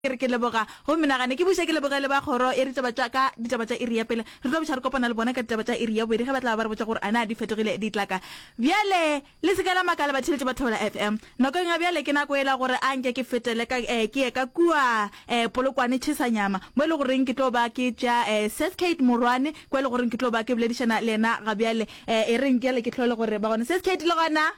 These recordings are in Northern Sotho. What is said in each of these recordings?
Ke re ke leboga go menagane ke buše ke leboge le ba kgoro ya ditaba tša ka ditaba tša iri ya pele. Re tlo buša re kopana le bona ka ditaba tša iri ya bobedi ge ba tla ba re botša gore a na di fetogile ditlaka. Bjale le se ke la makala batheeletši ba Thobela FM. Nakong ya bjale ke nako yela gore a nke ke fetele ka eh, ke ye ka kua eh, Polokwane Tšhesanyama mo e le goreng ke tlo ba ke tšea eh, Sis Kate Morwane kwa e le goreng ke tlo ba ke boledišana le yena ga bjale. Eh, e reng bjale ke hlole gore ba gona. Sis Kate le gona?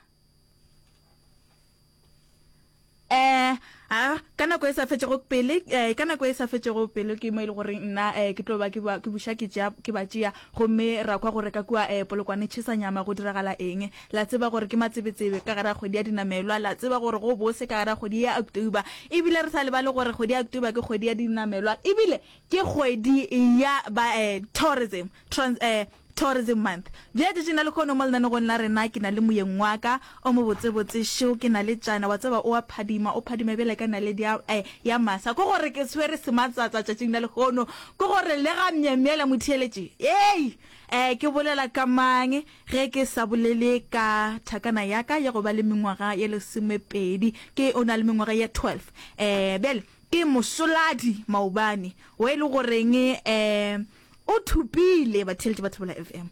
Eh, a, ka nako e sa fetšego pele, eh, ka nako e sa fetšego pelo ke mo e le goreng nna eh, ke tlo ba ke ba ke buša ke tšea ke ba tšea gomme ra kwa gore ka kua eh, Polokwane tšhesa nyama go diragala eng. La tseba gore ke matsebetsebe ka gare ga kgwedi ya dinamelwa, la tseba gore go bose ka gare ga kgwedi ya October. Ebile re sa lebale gore kgwedi ya October ke kgwedi ya dinamelwa ebile ke kgwedi ya ba eh, tourism, trans, eh, Tourism Month. Bjale tšatšing la lehono mo lenanegong la rena ke na le moyeng wa ka o mobotsebotse šo, ke na le tšana, wa tseba o a phadima, o phadima bjale ka naledi ya, eh, ya masa. Ke gore ke swere sematsatsa tšatšing la lehono, ke gore le ga myemyela motheeletši. Ei! Eh, ke bolela ka mang ge ke sa bolele ka thakana ya ka ya go ba le mengwaga ye lesomepedi, ke o na le mengwaga ye 12. Eh, bjale ke mosoladi maobane, wo e le goreng, eh, O thopile, batheeletši ba Thobela FM,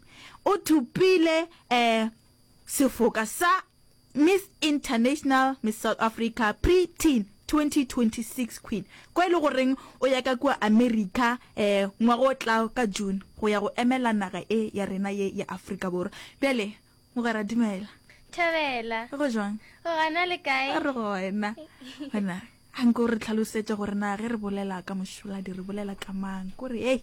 o thopile um sefoka sa Miss International Miss South Africa Pre-Teen 2026 Queen, kwa e le goreng o ya ka kua America um ngwaga o tlago ka June go ya go emela naga e ya rena ye ya Afrika Borwa. Bjale, mogwera, dumela. Thobela. Go jwang? O gona le kae? Re gona. Gona, a nke o re tlhalosetše gore na ge re bolela ka mošoladi re bolela ka mang? Ko re, hei.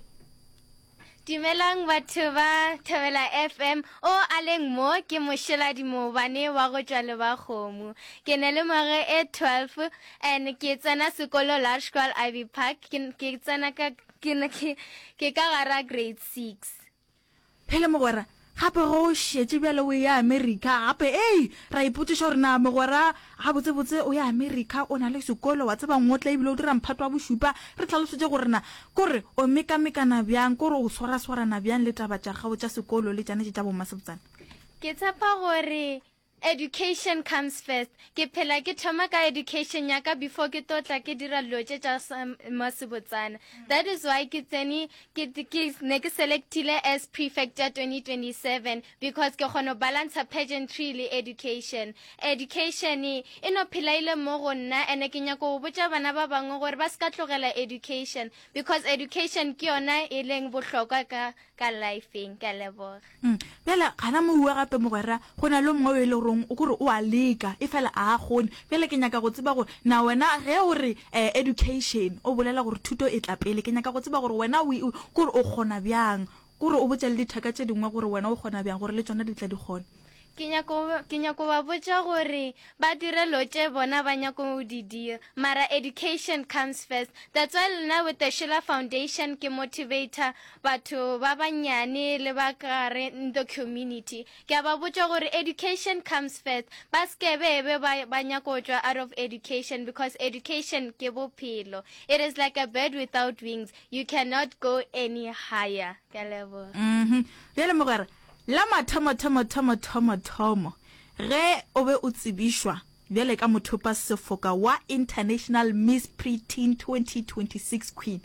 Dumelang batho ba Thobela FM. O a leng mo ke mošoladi moobane wa go tšwa Lebakgomo. Ke ne le ngwaga e 12 and ke tsena sekolo Laerskool Ivy Park. Ke, ke tsena ka, ke, ke, ke ka gara grade 6. Phele mogwera, gape ge o šetše bjale o eya Amerika gape, ei, ra ipotšiša gore na mogwera gabotsebotse o ya Amerika, o na le sekolo, wa tseba ngotla ebile o dira mphato wa bošupa, re hlalosetše gore na kore o mekamekana bjang, kore o swaraswarana bjang le taba tša gago tša sekolo le tšana tše tša bommasebotsana. Ke tshepa gore Education comes first. Ke phela ke thoma ka education ya ka before ke tlo tla ke dira dilo tše tša masebotsana. That is why ke tsene ke ke ne ke selectile as prefect ya 2027 because ke kgona go balancer pageantry le education. Education e no phela ile mo go nna ene ke nyaka go botša bana ba bangwe gore ba se ka tlogela education because education ke yona e leng bohlokwa ka ka lifeng. Ke a leboga. Mm. Bjale gana moue gape mogwera, go na le mongwe o e le goreng o kore o a leka, efela a a kgone. Bjale ke nyaka go tseba gore na wena ge o re eh, education, o bolela gore thuto e tla pele, ke nyaka go tseba gore wena o, o, kore o kgona bjang, kore o botša le dithaka tše dingwe gore wena o kgona bjang gore le tšona di tle di kgone. Ke nyako, ke nyako ba botša gore ba dire lo tše bona ba nyako go di dira, mara education comes first. That's why le nna with the Sheila Foundation ke motivator batho ba bannyane le ba ka gare in the community. Ke a ba botša gore education comes first, ba se ke be ba, ba nyako tšwa out of education because education ke bophelo. It is like a bird without wings, you cannot go any higher. Ke a leboga. Mhm. Bjale mogwera, La mathomothomothomothomothomo ge o be o tsebišwa bjale ka mothopa sefoka wa International Miss Pre-Teen 2026 Queen,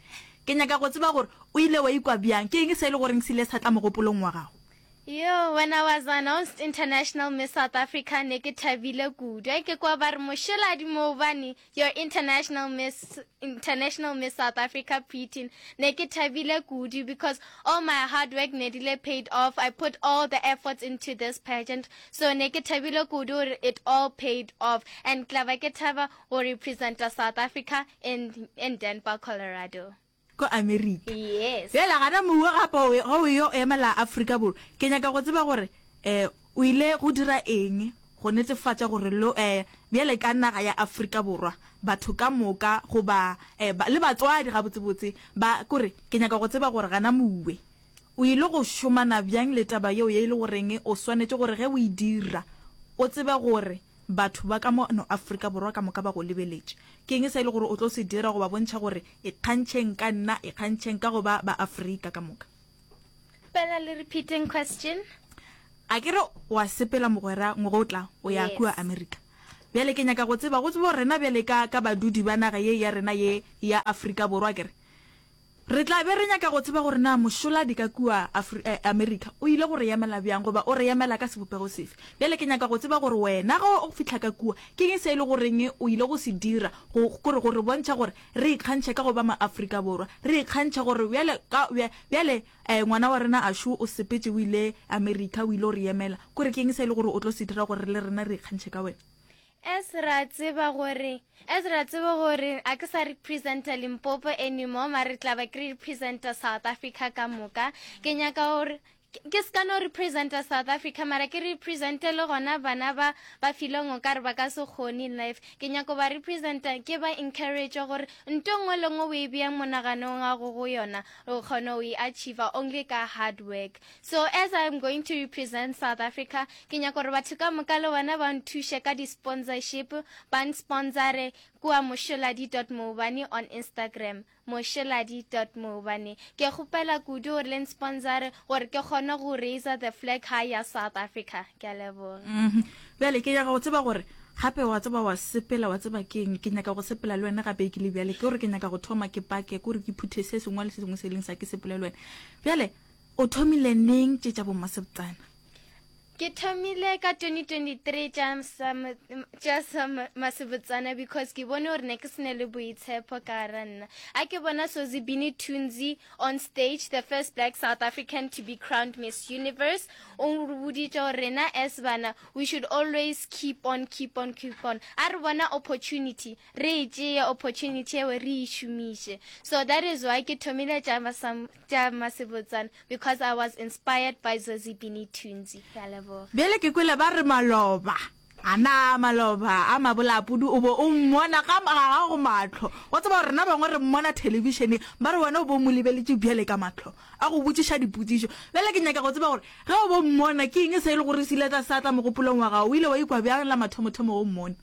ke nyaka go tseba gore o ile wa ikwa bjang? Ke eng se e le goreng se ile sa tla mogopolong wa gago? Yo, when I was announced International Miss South Africa ne ke thabile kudu. Ge ke kwa ba re Mošeladi Moobane Your International Miss International Miss South Africa Preteen ne ke thabile kudu because all my hard work ne dile paid off. I put all the efforts into this pageant. So ne ke thabile kudu gore it all paid off and tla ba ke thaba go representa South Africa in in Denver, Colorado. Ko Amerika. Yes. Bjale gana mowe gape o ge o yo emela Afrika Borwa, ke nyaka go tseba gore um o ile go dira eng go netefatša gore lo um bjale ka naga ya Afrika Borwa batho ka moka goba um le batswadi gabotsebotse ba kore ke nyaka go tseba gore gana mowe o ile go šomana bjang le taba yeo ye e le goreng o swanetše gore ge o e dira o tsebe gore Batho ba ka mo no Afrika Borwa ka moka ba go lebeletše. Ke eng se e le gore o tlo se dira go ba bontšha gore ikgantšheng ka nna, ikgantšheng ka go ba ba Afrika ka moka? Kgopela le repeating question. A ke re wa sepela mogwera ngwaga o tla o ya kua Yes. Amerika. Bjale ke nyaka go tseba, go tseba gore rena bjale ka, ka badudi ba naga ye ya rena ye ya Afrika Borwa, akere, re tla be re nyaka go tseba gore na mošoladi ka kua Afri, eh, Amerika o ile go re emela bjang goba o re emela ka sebopego sefe. Bjale ke nyaka go tseba gore wena ge o fihla ka kua, ke eng se e le goreng o ile go se dira go, gore, go re bontšha gore re ikgantšha ka go ba ma-Afrika Borwa, re ikgantšha gore bjale ka, bja, bjale Eh, ngwana wa rena Ashu o sepetše o ile America, o ile go re emela. Kore ke eng se e le gore o tlo se dira gore le rena re ikgantšhe ka wena? As ra tseba gore, as ra tseba gore a ke sa representa Limpopo anymore, mare re tla ba ke representa South Africa ka moka. Ke nyaka gore ke se ka no representa South Africa, mara ke represente le gona bana ba ba feelong o ka re ba ka se kgone in life. Ke nyaka go ba representa, ke ba encourage gore nto nngwe le nngwe o e beang monaganong wa go go yona, O kgona go e achiever only ka hard work. So as I'm going to represent South Africa, ke nyaka gore batho ka moka le bona ba nthuše ka di-sponsorship, ba nsponsore kua mosholadi dot moobane on Instagram, mosholadi dot moobane. Ke kgopela kudu gore le nsponsore gore ke kgone go raiser the flag high ya South Africa. Ke a leboga. Bjale ke nyaka go tseba gore gape wa tseba wa sepela wa tseba keng ke nyaka go sepela le wena gape ke le bjale ke gore ke nyaka go thoma ke pake ke gore ke phuthe se sengwe le se sengwe se e leng sa ke sepele le wena bjale o thomile neng tše tša bommasebotsana? Ke thomile ka 2023 tša tša sa masebotsana because ke bone gore ne ke sene le boitshepo ka gara nna. A ke bona Sozibini Tunzi on stage, the first black South African to be crowned Miss Universe, o re boditše gore rena as bana we should always keep on, keep on, keep on. A re bona opportunity, re e tšeye opportunity eo re e šomiše. So that is why ke thomile tša tša Masebotsana because I was inspired by Zozibini Tunzi. Ke a leboga. Bjale ke kwele ba re maloba A na maloba a mabolaapudu o bo o mmona ga ga gago mahlo? Wa tseba gore rena bangwe re mmona thelebišeneng, ba re wena o bo o mo lebeletše bjale ka mahlo, a go botšiša dipotšišo. Bjale ke nyaka go tseba gore ge o bo mmona, ke eng se e le gore se ile sa tla mogopolong wa gago? O ile wa ikwa bjang la mathomothomo ge o mmona?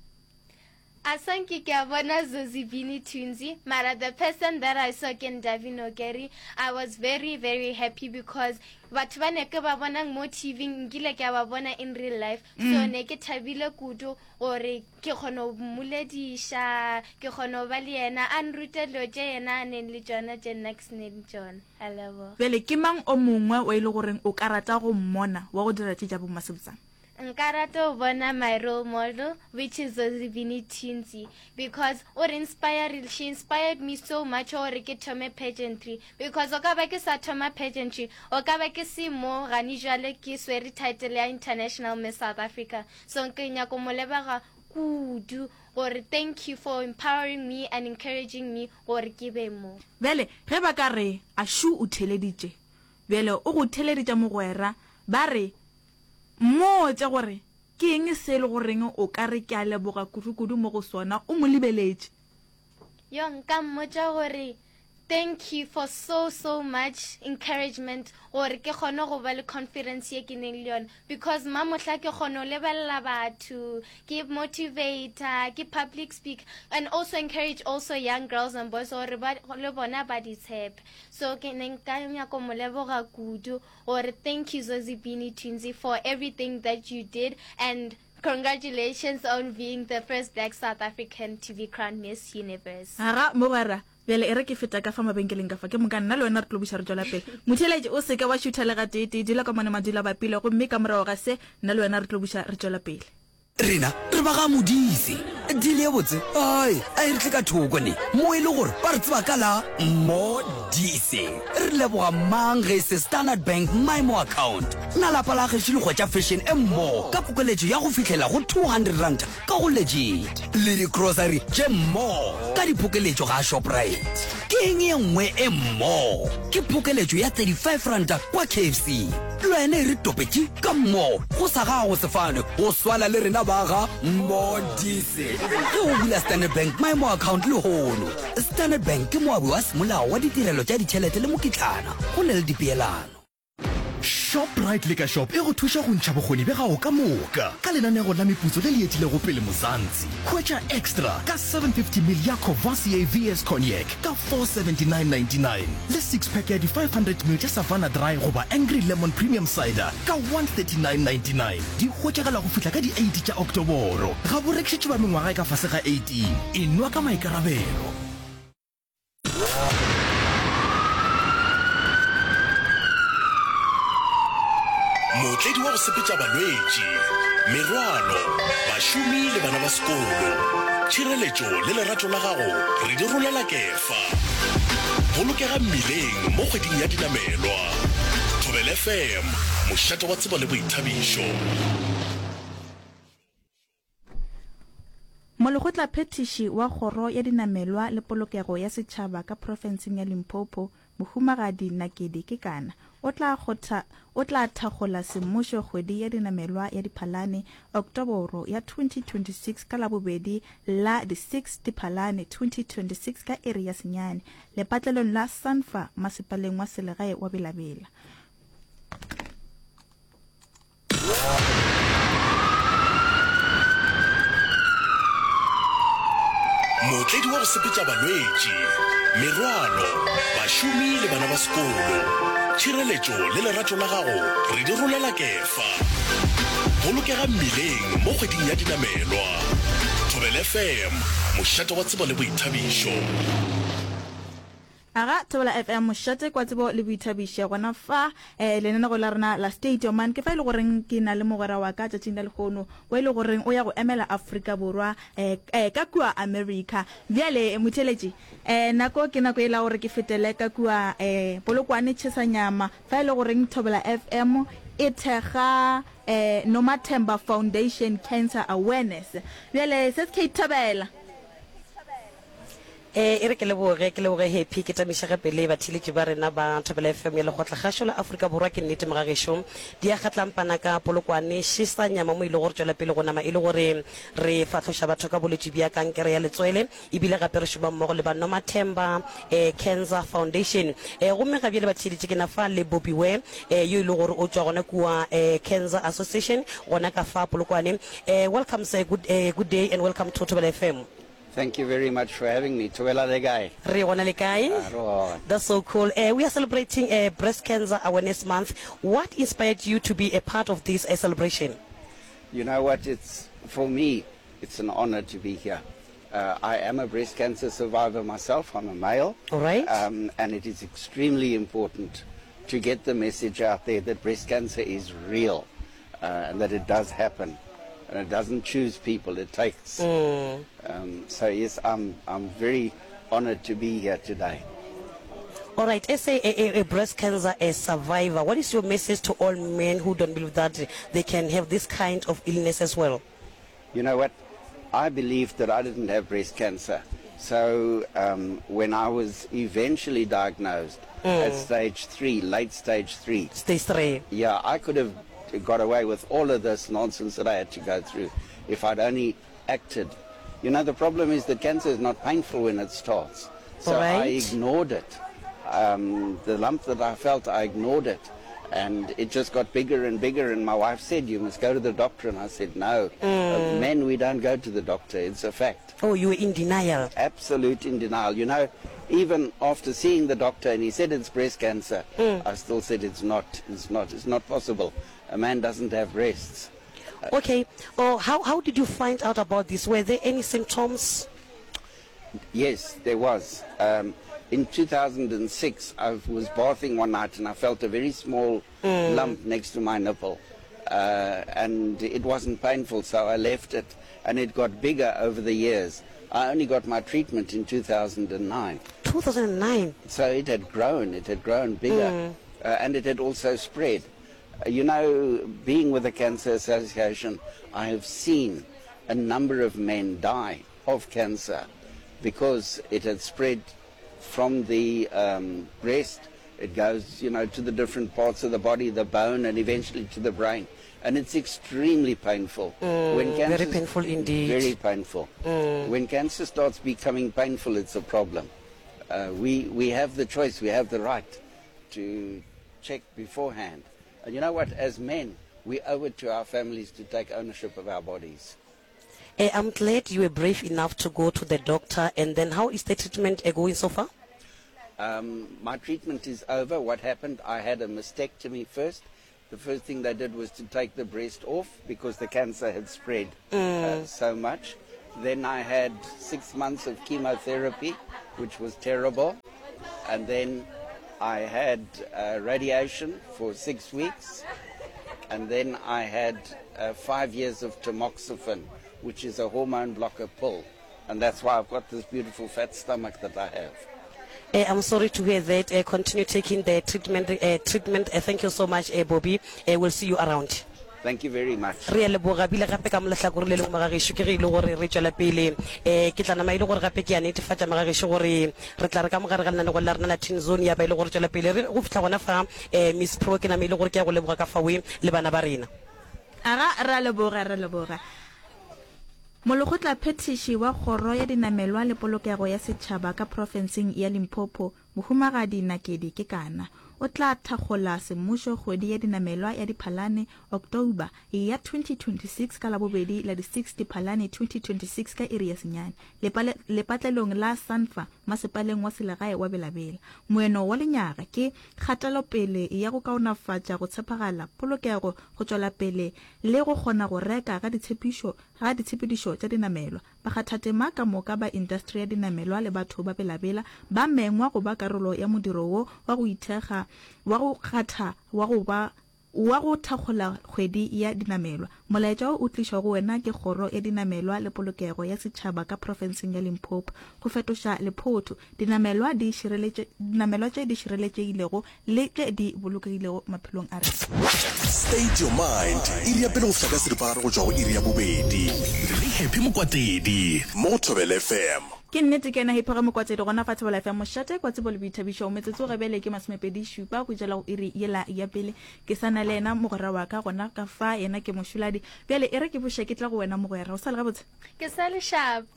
A sanke ke a bona Zozibini Tunzi, mara the person that I saw ke Ndavi Nokeri. I was very very happy because batho ba ne ke ba bonang mo TV nkile ke a ba bona in real life. So ne ke thabile kudu gore ke kgona go mmolediša, ke kgona go ba le yena, a nrute dilo tše yena a neng le tšona tše nna ke se neng tšona. A leboga. Bjale ke mang o mongwe o e le goreng o ka rata go mmona wa go dira tše tša bommasebotsana? Nka rata go bona my role model which is Zozibini Tunzi because o re inspire she inspired me so much gore ke thome pageantry because o ka ba ke sa thoma pageantry o ka ba ke se mo gane jwale ke swere title ya International Miss South Africa so ke nyako mo leboga kudu gore thank you for empowering me and encouraging me gore ke be mo. Bjale ge ba ka re, Ashu o theeleditše. Bjale o go theeleditša mogwera, ba re, Mmotše gore ke eng se e le goreng o ka re ke a leboga kudu-kudu mo go sona o mo lebeletše. Yo, nka mmotša gore thank you for so so much encouragement gore ke kgone go ba le confidence ye ke neng le yona because mamohla ke kgone go lebelela batho ke motivator ke public speaker and also encourage also young girls and boys gore ba le bona ba di tshepe so ke ne nka nyako mo leboga kudu Gore thank you Zozibini Tunzi for everything that you did and congratulations on being the first black South African to be crowned Miss Universe. Aga, mogwera, bjale e re ke feta ka fa mabenkeleng ka fa, ke moka nna le wena re tlo buša re tšwela pele. Motheeletši, o se ke wa šutha le gateetee, dula ka mone madula a bapile, gomme ka morago ga se, nna le wena re tlo buša re tšwela pele. Rena re ba ga Modise. Deal ye botse ai a e re tle ka thoko ne mo e le gore ba re tseba ka la Modise. Re leboga mang ge e se Standard Bank MyMo account. Na lapa la gešo le hwetša fashion e mmo ka pokeletšo ya go fihlela go R200 ka go Legit le di-grocery tše mmo ka diphokeletšo ga Shoprite. Ke eng ye nngwe e mmo? Ke phokeletšo ya R35 kwa KFC. Le wena e re topetše ka mmo go sa gago sefane go swana le rena ba ga Modise. Ge o bula Standard Bank Maemo Account lehono, Standard Bank ke moabi wa semolao wa ditirelo tša ditšhelete le mokitlana go na le dipeelano. Shoprite Liquor Shop e go thuša go ntšha bokgoni bja gago ka moka ka lenanego la meputso le le etilego pele Mzansi. Hwetša Extra ka 750 ml ya Courvoisier VS Cognac ka 479.99 le six pack ya di 500 ml tša Savanna Dry goba Angry Lemon Premium Cider ka 139.99. Di hwetšagala go fihla ka di 8 tša Oktoboro. Ga bo rekišetšwe ba mengwaga e ka fase ga 18. Enwa ka maikarabelo. Mootledi wa go sepetša balwetši, merwalo, bašomi le bana ba sekolo. Tšhireletšo le lerato la gago re di rolela kefa. Bolokega mmileng mo kgweding ya dinamelwa. Thobela FM, mošate wa tsebo le boithabišo. Molekgotlaphethiši wa Kgoro ya Dinamelwa le Polokego ya Setšhaba ka profenseng ya Limpopo, Mohumagadi Nakedi Kekana, o tla kgotha o tla thakgola semmušo kgwedi ya dinamelwa ya Diphalane, Oktoboro, ya 2026 ka Labobedi la di 6 Diphalane 2026 ka iri ya senyane, lepatlelong la Sanfa masepaleng wa selegae wa Bela-Bela. Mootledi wa go sepetša balwetši, merwalo, bašomi le bana ba sekolo. Tšhireletšo le lerato la gago re di rolela kefa. Bolokega mmileng mo kgweding ya dinamelwa. Thobela FM, mošate wa tsebo le boithabišo. Aga, Thobela FM, mošate kwa tsebo le boithabišo. Gona fa, eh, lenanego la rena la State Your Man, ke fa e le goreng ke na le mogwera wa ka tšatšing la lehono, wa e le goreng o ya go emela Afrika Borwa, eh, eh, ka kua America. Bjale, motheeletši, eh, nako ke nako yela gore ke fetele ka kua, eh, Polokwane Tšhesanyama, fa e le goreng Thobela FM e thekga, eh, Nomathemba Foundation Cancer Awareness. Bjale, se se Kate Thobela. Ee, e re ke leboge, ke leboge Happy, ke tamiše gape le batheeletši ba rena ba Thobela FM ya Lekgotlakgašo la Afrika Borwa. Ke nnete mogagešo, di a kgatlampana ka Polokwane, šesa nyama mo e lego gore tšwela pele go nama e le gore re fahloša batho ka bolwetši bja kankere ya letswele, ebile gape re šoma mmogo le ba Nomathemba eh, Cancer Foundation. Eh, gomme ga bjale batheeletši ke na fa le Bobby Ware eh, yo e lego gore o tšwa gona kua eh, Cancer Association gona ka fa Polokwane. Eh, welcome sir, good, eh, good day and welcome to Thobela FM. Thank you very much for having me. Thobela le kae? Re gona le kae? Ah, re gona. That's so cool. Uh, we are celebrating uh, Breast Cancer Awareness Month. What inspired you to be a part of this uh, celebration? You know what? It's for me. It's an honor to be here. Uh, I am a breast cancer survivor myself. I'm a male. All right. Um, and it is extremely important to get the message out there that breast cancer is real uh, and that it does happen. And it doesn't choose people, it takes. Mm. Um, so, yes, I'm, I'm very honored to be here today. All right, as a, a, a breast cancer a survivor, what is your message to all men who don't believe that they can have this kind of illness as well? You know what? I believed that I didn't have breast cancer. So um, when I was eventually diagnosed mm. at stage three, late stage three. Stage three. Yeah, I could have got away with all of this nonsense that I had to go through if I'd only acted. You know, the problem is that cancer is not painful when it starts. So right. I ignored it. Um, the lump that I felt, I ignored it. And it just got bigger and bigger. And my wife said, You must go to the doctor. And I said, No. Mm. Uh, men, we don't go to the doctor. It's a fact. Oh, you were in denial. Absolute in denial. You know, even after seeing the doctor and he said it's breast cancer, mm. I still said it's not. It's not. It's not possible. A man doesn't have breasts. Okay. Oh, how, how did you find out about this? Were there any symptoms? Yes, there was. Um, in 2006, I was bathing one night and I felt a very small mm. lump next to my nipple. Uh, and it wasn't painful, so I left it. And it got bigger over the years. I only got my treatment in 2009. 2009? So it had grown, it had grown bigger, mm. uh, and it had also spread. Uh, you know, being with the Cancer Association, I have seen a number of men die of cancer because it had spread from the um, breast. It goes, you know, to the different parts of the body, the bone, and eventually to the brain. And it's extremely painful. Mm, when cancer, very painful indeed. Very painful. Mm. When cancer starts becoming painful, it's a problem. Uh, we, we have the choice, we have the right to check beforehand. And you know what? As men, we owe it to our families to take ownership of our bodies. Eh, I'm glad you were brave enough to go to the doctor and then how is the treatment eh, going so far? Um, my treatment is over. What happened, I had a mastectomy first. The first thing they did was to take the breast off because the cancer had spread uh, mm. uh, so much. Then I had six months of chemotherapy, which was terrible. And then I had uh, radiation for six weeks. And then I had uh, five years of tamoxifen, which is a hormone blocker pill. And that's why I've got this beautiful fat stomach that I have. Eh, I'm sorry to hear that. Eh, continue taking the treatment. Eh, treatment. Eh, thank you so much, eh, Bobby. Eh, we'll see you around. Thank you very much. Re a leboga bile gape ka mo lehlakore le lengwe magagešo ke ge e le gore re tšwela pele um ke tla nama e le gore gape ke a netefatša magagešo gore re tla re ka mogare ga lenanego la rena la Teen Zone ya ba e le gore tšwela pele re go fihla gona fa um Miss Pro ke nama e le gore ke ya go leboga ka fawe le bana ba rena. Aga, re a leboga, re a leboga. Molekgotlaphethiši wa Kgoro ya Dinamelwa le Polokego ya Setšhaba ka profenseng ya Limpopo, Mohumagadi Nakedi Kekana, o tla thakgola semmušo kgwedi ya dinamelwa ya Diphalane, October, ya 2026 ka Labobedi la di 6 Diphalane 2026 ka iri ya senyane, lepatlelong la Sanfa masepaleng wa selegae wa Bela-Bela. Moeno wa lenyaga ke kgatelopele ya go kaonafatša go tshepagala, polokego, go tšwela pele le go kgona go reka ga ditshepišo ga ditshepedišo tša dinamelwa. Bakgathatema ka moka ba intasteri ya dinamelwa le batho ba Bela-Bela ba mengwa go ba karolo ya modiro wo wa go ithekga wa go kgatha wa go ba wa go thakgola kgwedi ya dinamelwa. Molaetša wo o tlišwa go wena ke Kgoro ya Dinamelwa le Polokego ya Setšhaba ka profenseng ya Limpopo. Go fetoša lephotho, dinamelwa di šireletše, dinamelwa tše di šireletšegilego le tše di bolokegilego maphelong a rena. State your mind, iri ya pele go fihla ka seripagare go tšwa go iri ya bobedi. Le Happy Mokwatedi mo go Thobela FM. Ke nnete ke yena Happy ga Mokwatedi gona fa Thobela FM mošate kwa tsebo le boithabišo. Metsotso ga bjale ke masomepedi šupa go tšwela go iri yela ya pele. Ke sa na le yena mogwera wa ka gona ka fa, yena ke Mošoladi. Bjale e re ke buše ke tle go wena mogwera. O sa le gabotse? Ke sa le sharp.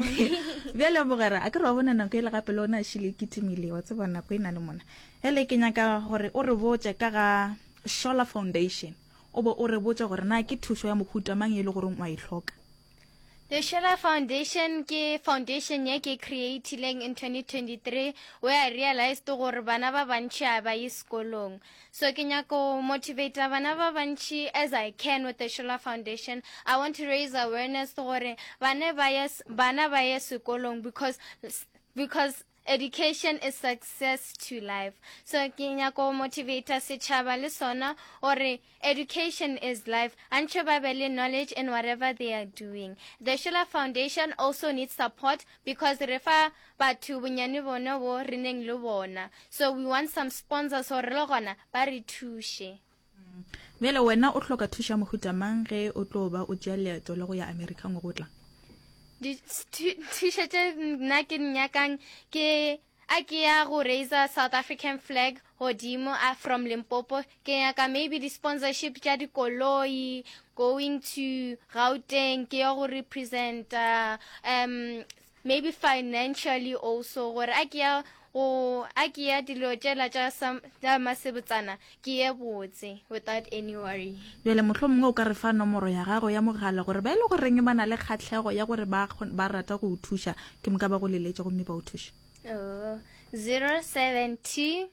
Bjale mogwera, a ke re wa bona nako yela gape le ona a šile e kitimile, wa tseba nako e na le mona. Bjale ke nyaka gore o re botše ka ga Shola Foundation, o be o re botše gore na ke thušo ya mohuta mang ye e le goreng o a e hloka. The Shola Foundation ke foundation ye ke creatileng in 2023 where I realized gore bana ba bantši a ba ye sekolong. So ke nyaka go motivate bana ba bantši as I can with the Shola Foundation. I want to raise awareness gore bana ba ye bana ba ye sekolong because because Education is success to life. So ke nyaka go motivator setšhaba le sona gore education is life. Antšhe ba be le knowledge in whatever they are doing. The Shula Foundation also needs support because re fa batho bonyane bona bo re neng le bona. So we want some sponsors gore le gona ba re thuše. Bjale wena o hloka thušo ya mohuta mang ge o tlo ba o tšea leeto la go ya Amerika ngwaga o tlang? Dithušo tše nna ke di nyakang ke a ke ya go raiser South African flag godimo a from Limpopo ke nyaka maybe di-sponsorship tša dikoloi going to Gauteng ke ya go representa um Maybe financially also gore a ke ya go a ke ya dilo tšela tša tša masebotsana ke ye botse without any worry. Bjale mohlomongwe o ka re fa nomoro ya gago ya mogala gore ba e le goreng ba na le kgahlego ya gore ba ba rata go o thuša ke moka ba go leletše gomme ba o thuše. Oh, 072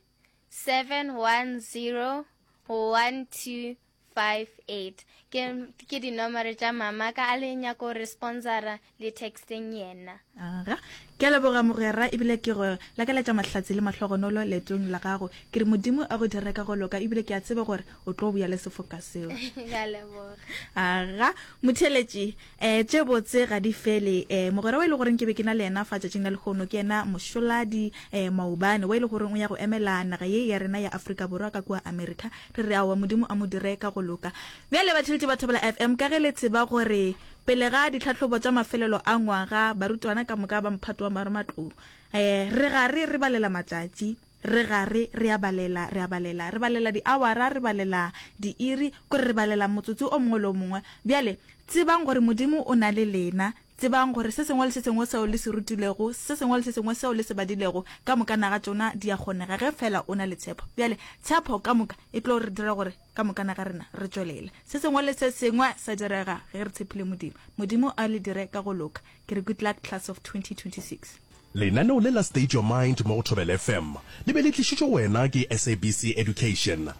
710 12 58 ke ke dinomoro tša mama ka a le nyako re sponsora le texteng yena. Aga, ke a leboga mogwera ebile ke go lakaletša mahlatse le mahlogonolo leetong la gago. Ke re Modimo a go dire ka go loka ebile ke a tseba gore o tlo boya le sefoka seo. Ke a leboga. Aga, motheeletši, eh, tše botse ga di fele. Eh, mogwera wa e le goreng ke be ke na le yena fa tšatšing la lehono ke yena Mošoladi eh, Maubane wa e le goreng o ya go emela naga ye ya rena ya Afrika Borwa ka kua Amerika. Re re aowa, Modimo a mo dire ka go loka. Bjale batheeletši ba Thobela FM, ka ge le tseba gore pele ga ditlhahlobo tša mafelelo a ngwaga barutwana ka moka ba mphato wa marematlou, eh, re gare re balela matšatši, re gare re a balela, re a balela, re balela diawara, re balela diiri, kore re balela motsotso o mongwe le o mongwe. Bjale tsebang gore Modimo o na le lena. Tsebang gore se sengwe le se sengwe seo le se rutilwego, se sengwe le se sengwe seo le se badilego, ka moka naga tšona di a kgonega ge feela o na le tshepo. Bjale, tshepo ka moka e tlo re dira gore ka moka naga rena re tšwelele. Se sengwe le se sengwe sa direga ge re tshepile Modimo. Modimo a le dire ka go loka. Ke re good luck class of 2026. Lenaneo le la State Your Mind mo go Thobela FM le be le tlišitšwe go wena ke SABC Education.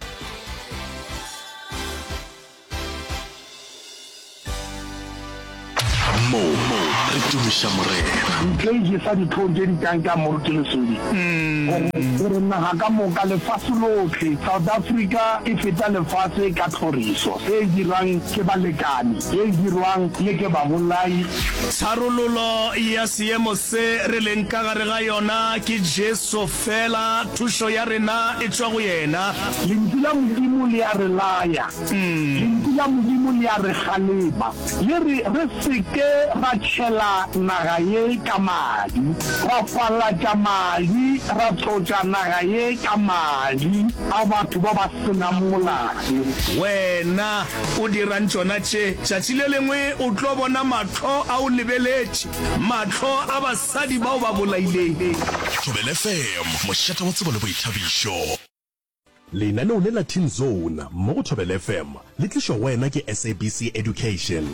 Mo re tumiša Morena. Ntle e jesa dihlong tše di kang tša Moruti Lesodi gore gore naga ka moka, lefase lohle, South Africa e feta lefase ka tlhoriso e dirwang ke balekane, e dirwang le ke babolai. Tharololo ya seemo se re leng ka gare ga yona ke Jesu fela, thušo ya rena e tšwa go yena. Lentšu la Modimo le a re laya. Lentšu la Modimo le a re kgalema, le re re se ke ra tšhela naga ye ka madi, ra falatša madi, ra tlotša naga ye ka madi a batho ba ba se nang molato. Wena o dirang tšona tše? Tšatši le lengwe o tlo bona mahlo a o lebeletše, mahlo a basadi ba o ba bolaileng. Thobela FM, mošate wa tsebo le boithabišo. Lenaneo le la Teen Zone mo go Thobela FM le tlišwa go wena ke SABC Education.